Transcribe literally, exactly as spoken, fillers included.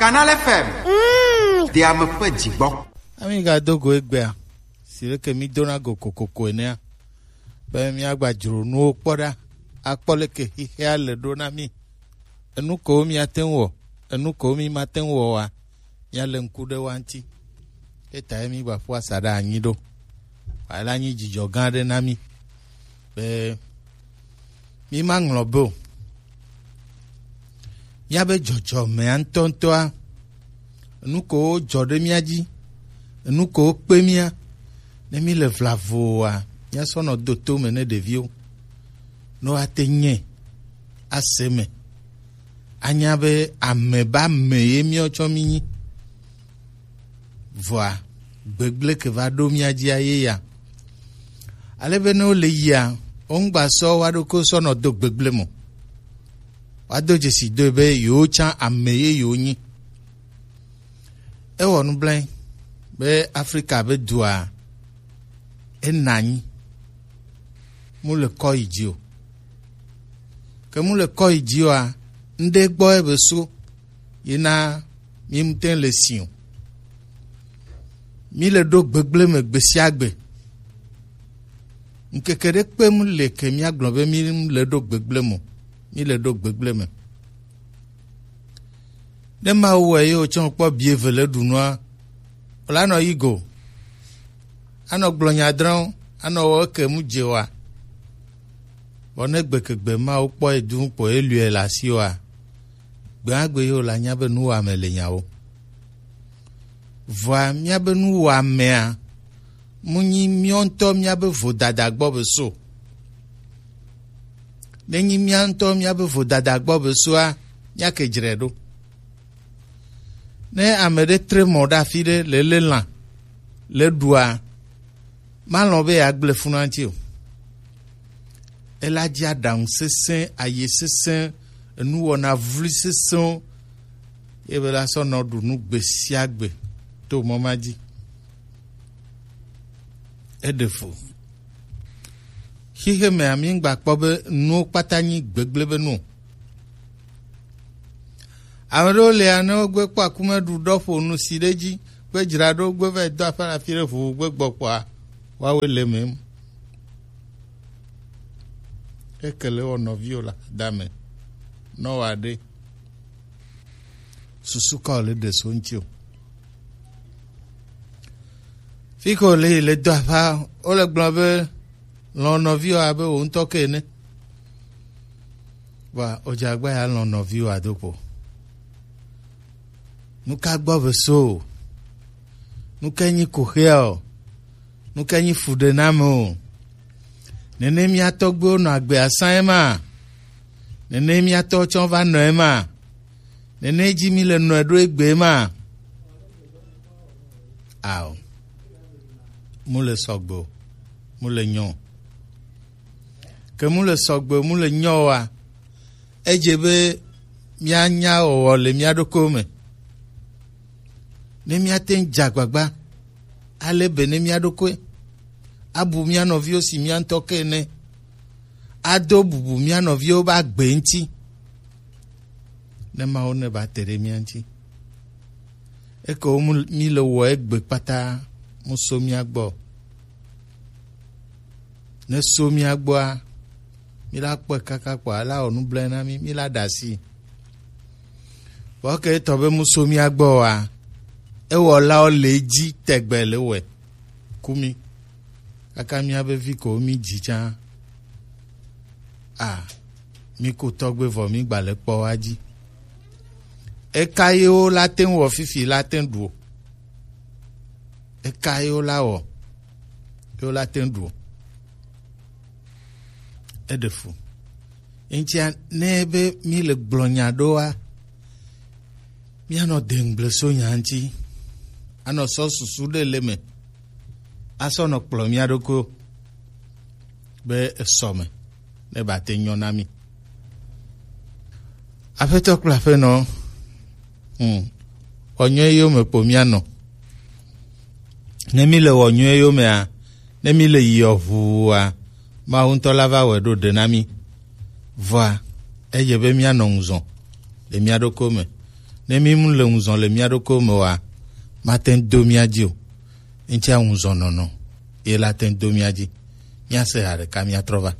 Canal F M. Mm. Ɖe ame ƒe dzi gbɔ. Ami ga do go egbea, si leke mi dona go kokoko enea, be mi agba dzro nuwo kpɔ ɖa, akpɔ leke xixea le ɖo na mi. Enu ko mi ate ŋu wɔ, enu ko mi mate ŋu wɔ wa, mi ale ŋku ɖe wa ŋuti. Eta ye mi gba ƒu asaɖa anyi ɖo. Wa la nyi dzidzɔ gã ɖe na mi. Be mi ma ŋlɔ be o. Míabe dzɔdzɔmea ŋutɔŋutɔa, enu ko wojɔ ɖe mía dzi, enu ko wokpe mía, ne míle vlavoa, míasɔ nɔ do to me ne ɖeviwo, ne woate nyɛ ase me, anya be ame be ame ye míawo tsɔ mí nyi. Vɔa, gbegblẽ ke va ɖo mía dzia ye ya. Ale be ne wole yia, woŋgba sɔ woa ɖokui sɔ nɔ do gbegblẽ me o. Woado dzesi doe be yewo tsã ame ye yewo nyi. Ewɔ nublanui be Afrika be dua ena anyi, mu le kɔ yi dzi o. Ke mu le kɔ yi dzi oa, ŋɖe gbɔ ebe so yina mi ŋutɛ le si o. Mi le ɖo gbegblẽ me gbe sia gbe. Ŋkeke ɖe kpe mu le ke mía gblɔ be mi le ɖo gbegblẽ me o. Mi le ɖo gbegblẽ me. Ne Mawu wɔ ye wotsɔ kpɔ bi eve le ɖu nua, wòla nɔ yi go. Anɔ gblɔ nya drɔ̃, anɔ wɔ eke mu dze wa. Vɔ ne gbekegbe Mawu kpɔ ye du kpɔ ye lue le asi wa, gbegbe ye wòla nya be nuwɔame le nyawo. Vɔa míabe nuwɔamea mu nyi míawo ŋutɔ míabe vodada gbɔ be so. Ne nyi mía ŋutɔ míabe vodada gbɔ be soa, míake dzre ɖo. Ne ame ɖe tre mɔ ɖe afi ɖe le lé lã le ɖua, malɔ̃ be yeagblẽ fu na ŋuti o. Ela dzi aɖaŋu sesẽ, aye sesẽ, enuwɔna vloe sesẽwo, ye be la sɔ nɔ ɖu nu gbe sia gbe to mɔ ma dzi. Eɖe fu. Xixe mea, mi ŋgba kpɔ be nuwo kpata nyi gbegblẽ be nu o. Ame ɖewo lia, ne wogbe kpɔ akume ɖu ɖɔ ƒo nu si ɖe dzi, gbe dzra ɖo, gbe va yi do aƒe le afi ɖe ʋuʋu gbe gbɔ kpɔa, woawoe le eme. Eke le wɔ nɔviwo le dame, nɔ wa ɖe. Susu ka wòle ɖe so ŋuti o. Fi ke wòle yi le do aƒea, wole gblɔ be lɔ̃ nɔviwò abe wò ŋutɔ ke ene. Vɔa, wòdze agba ya lɔ̃ nɔviwò ado kpo. Nu ka gbɔ be so o? Nu ka nyi koxea o? Nu ka nyi fuɖename o? Nene mía tɔgbuiwo nɔ agbe asã ema? Nene mía tɔwo tsɔ va nɔ ema? Nene dzi mi le nɔe ɖo egbe ma? Ao. Mu le sɔgbe o. Mu le nyɔ o. Ke mu le sɔgbe o, mu le nyɔ oa, edze be míanya wɔwɔ le mía ɖokuiwo me. Ne míate ŋu dze agbagba, alé be ne mía ɖokui, abu mía nɔviwo si mía ŋutɔ ke ene, ado bubu mía nɔviwo be agbe ŋuti, ne Mawu ne ba te ɖe mía ŋuti. Eke wo mu, mí le wɔ egbe kpata mu so mía gbɔ. Ne so mía gbɔa, mí la kpɔe kaka kpɔa, ela wɔ nublanui na mí, mí la ɖe asi. Vɔ ke etɔ be mu so mía gbɔ oa, ewɔlawo le edzi tɛgbɛ le wɔe ku mí. Kaka míabe vi ko mí dzi tsã. A, mí ku tɔgbe vɔ mí gba le kpɔ wa dzi. Eka ye wo la te ŋu wɔ fifi la te ŋu ɖu o? Eka ye wo la wɔ? Ye wo la te ŋu ɖu o? Eɖe fu. Eŋutia, ne be mí le gblɔ nya ɖoa, míanɔ de ŋugble so nya ŋuti. Anɔ sɔ susu ɖe le me. Asɔ nɔ kplɔ mía ɖokui be esɔ me ne ba te nyɔ na mí. Aƒetɔ kple aƒenɔ, hmm, wɔ nyuie yome kpo míanɔ. Ne mí le wɔ nyuie yomea, ne mí le yiɔ ʋuua, Mawu ŋutɔ la va wɔe ɖo ɖe na mí. Vɔa, edze be míanɔ ŋuzɔ le mía ɖokui me. Ne mi mu le ŋuzɔn le mia ɖokɔ me wa, ma te do mia dzi o. Ŋtsia ŋuzɔn nɔnɔ ye la te do mia dzi. Mia se ha ɖeka mia trɔ va.